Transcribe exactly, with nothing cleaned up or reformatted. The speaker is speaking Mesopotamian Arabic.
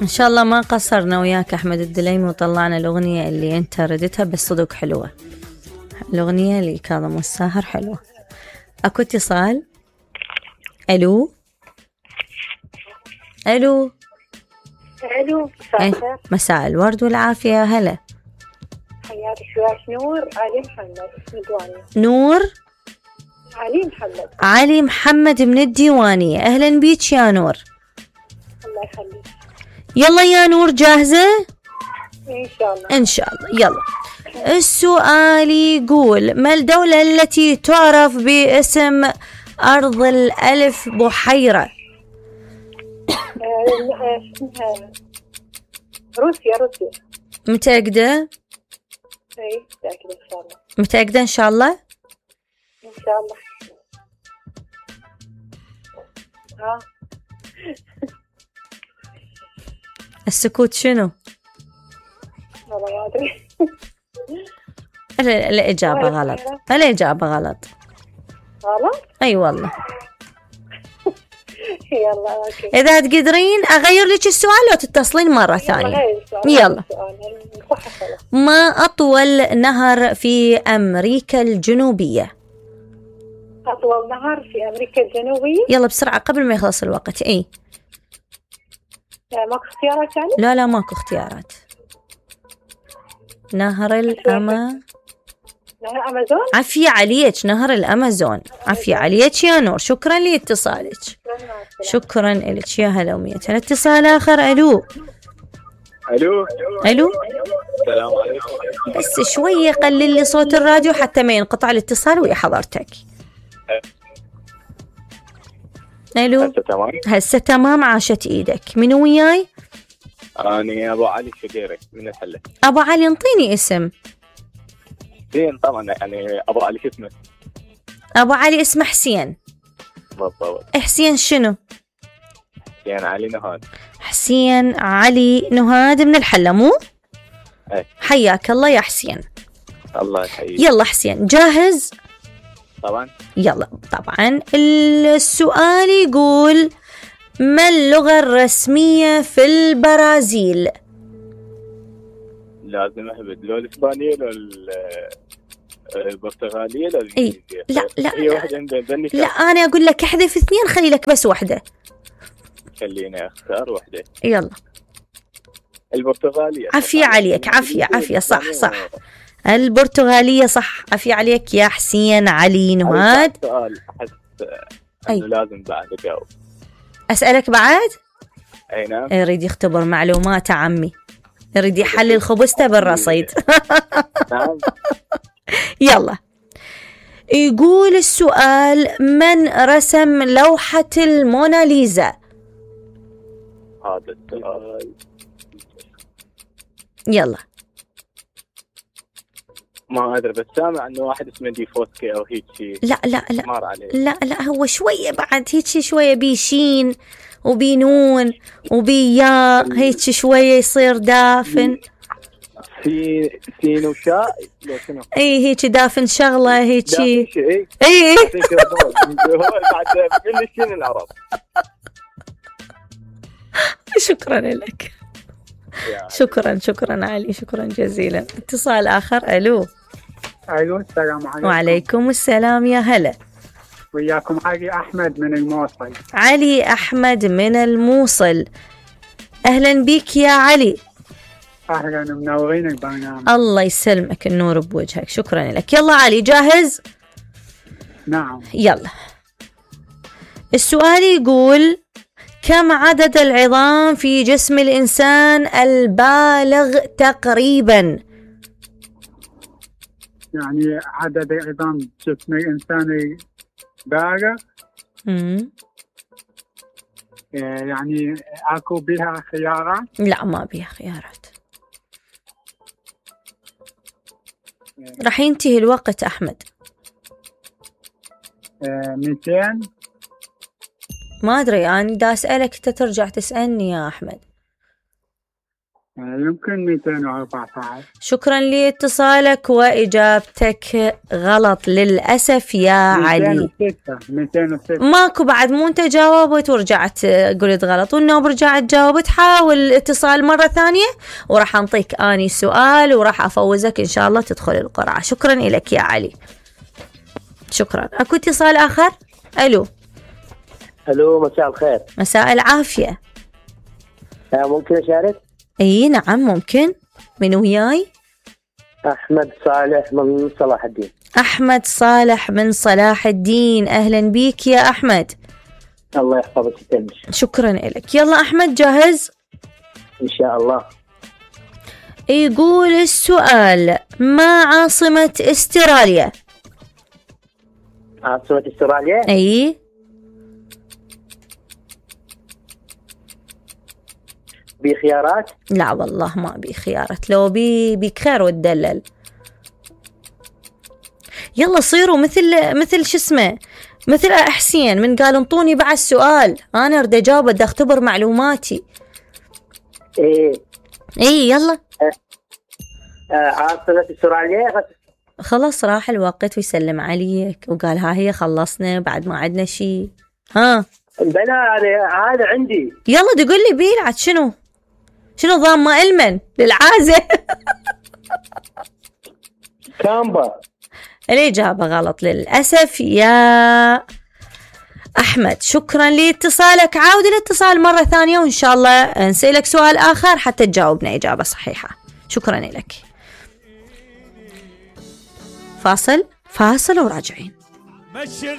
إن شاء الله ما قصرنا وياك أحمد الدليمي وطلعنا الأغنية اللي أنت ردتها، بس صدق حلوة الأغنية اللي كاظم والساهر حلوة. أكو اتصال. ألو ألو ألو مساء الخير. مساء الورد والعافية. هلا حياتك. وياك نور علي محمد من الديوانية. نور علي محمد. علي محمد من الديوانية. أهلا بيك يا نور. الله يخليك. يلا يا نور جاهزة؟ إن شاء الله. إن شاء الله. يلا السؤال يقول: ما الدولة التي تعرف باسم أرض الألف بحيرة؟ روسيا. روسيا. متأكدة؟ اي متأكدة ان شاء الله. متأكدة ان شاء الله؟ ان شاء الله. ها السكوت شنو؟ والله ما ادري. الإجابة غلط. الإجابة غلط. غلط؟ اي والله. يلا اوكي. إذا تقدرين أغير لك السؤال لو تتصلين مرة ثانية. يلا. ما أطول نهر في أمريكا الجنوبية؟ أطول نهر في أمريكا الجنوبية؟ يلا بسرعة قبل ما يخلص الوقت. إيه ماكو اختيارات يعني؟ لا لا ماكو اختيارات. نهر الأما نهر الأمازون؟ عافية عليك. نهر الأمازون. عافية عليك يا نور. شكرا لاتصالك. شكرا لك. يا هلا ومية. الاتصال آخر. ألو ألو ألو السلام عليكم. بس شوية قلل لي صوت الراديو حتى ما ينقطع الاتصال ويا حضرتك. ألو هسه تمام؟ هسه تمام. عاشت إيدك. منو وياي؟ أنا أبو علي شقيري من الحلة. أبو علي انطيني اسم. زين طبعا يعني أبو علي شو اسمه؟ أبو علي اسمه حسين. بالضبط. حسين شنو؟ حسين علي نهاد. حسين علي نهاد من الحلة مو؟ ايه. حياك الله يا حسين. الله يحييك. يلا حسين جاهز؟ طبعا. يلا طبعا. السؤال يقول: ما اللغة الرسمية في البرازيل؟ لازم أهبد لو الإسبانية لو البرتغالية لو الإنجليزية. لا لا هي واحدة عندنا. لا أنا أقول لك احذف اثنين خلي لك بس واحدة. خليني أختار واحدة. يلا. البرتغالية. عافية عليك. عافية عافية. صح صح. البرتغالية صح. عافية عليك يا حسين علي نهاد. سؤال أحس أنه لازم بعد أجاوب. أسألك بعد؟ أي نعم. يريد يختبر معلومات عمي. يريد يحلل خبزته بالرصيد. نعم. يلا. يقول السؤال: من رسم لوحة الموناليزا؟ هذا السؤال يلا. ما أدري بس سامع أنه واحد اسمه دي فوسكي أو هيك شيء. لا لا لا مر عليه. لا لا هو شوية بعد هيك شوية بيشين وبينون وبيا هيك شوية يصير دافن. في سين وشاء لو شنو؟ اي هيك دافن شغلة هيك. اي اي هو بعد كل شيء العرب. شكرا لك. شكرا شكرا علي. شكرا جزيلا. اتصال آخر. ألو. أيوة السلام عليكم. وعليكم السلام. يا هلا. وياكم علي أحمد من الموصل. علي أحمد من الموصل. أهلا بك يا علي. أهلا منورين البرنامج. الله يسلمك. النور بوجهك. شكرا لك. يلا علي جاهز؟ نعم. يلا. السؤال يقول: كم عدد العظام في جسم الإنسان البالغ تقريبا؟ يعني عدد عظام جسم الإنسان البالغ. امم يعني أكو بها خيارات؟ لا ما بها خيارات. راح ينتهي الوقت أحمد. مئتين. ما أدري أنا دا أسألك أنت ترجع تسألني يا أحمد. يمكن مئتين وأربعة عشر. شكرا لاتصالك وإجابتك غلط للأسف يا علي. مئتين وستة. ماكو بعد، مو انت جاوبت ورجعت قلت غلط، والنوب رجعت جاوبت. حاول الاتصال مرة ثانية وراح انطيك اني سؤال وراح افوزك ان شاء الله تدخل القرعة. شكرا لك يا علي، شكرا. اكو اتصال اخر. الو. الو، مساء الخير. مساء العافية. ممكن اشارك؟ اي نعم ممكن. من وياي؟ احمد صالح من صلاح الدين. احمد صالح من صلاح الدين، اهلا بيك يا احمد. الله يحفظك ويسلمك. شكرا لك. يلا احمد جاهز؟ ان شاء الله. يقول السؤال: ما عاصمة استراليا؟ عاصمة استراليا؟ اي. بخيارات؟ لا والله ما بي خيارات، لو بي بيك خير وتدلل. يلا صيروا مثل مثل شو اسمه مثل حسين من قال انطوني بعد السؤال، انا اريد اجاوب، بدي اختبر معلوماتي. ايه اي يلا. آه. آه عاصمة استراليا. خلاص راح الوقت ويسلم عليك وقال ها هي خلصنا بعد ما عندنا شيء. ها بلا هذا عندي. يلا تقول لي بيلعت شنو شنو ضام ما المن للعازة. كامبا. الإجابة غلط للأسف يا أحمد. شكرا لاتصالك، عاود الاتصال مرة ثانية وإن شاء الله نسألك سؤال آخر حتى تجاوبنا إجابة صحيحة. شكرا لك. فاصل فاصل وراجعين.